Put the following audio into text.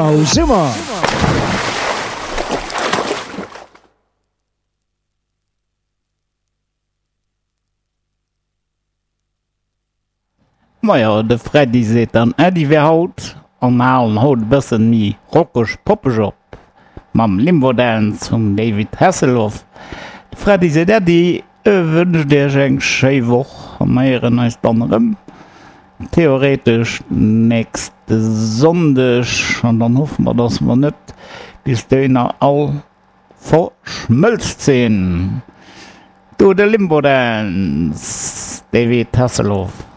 Summer! Majo, de Freddy seet dann Äddi fir haut an mer halen haut e bëssen méi rockeg poppeg op mam Limbo Dance vum David Hasselhoff. De Freddy seet Äddi, e wënscht iech eng schéi Woch a mer héieren eis dann erëm theoretesch nächste Sonndeg an dann hoffe mer, dass mer net bis dohinner all Verschmëlzt sinn. Do de Limbo Dance, David Hasselhoff.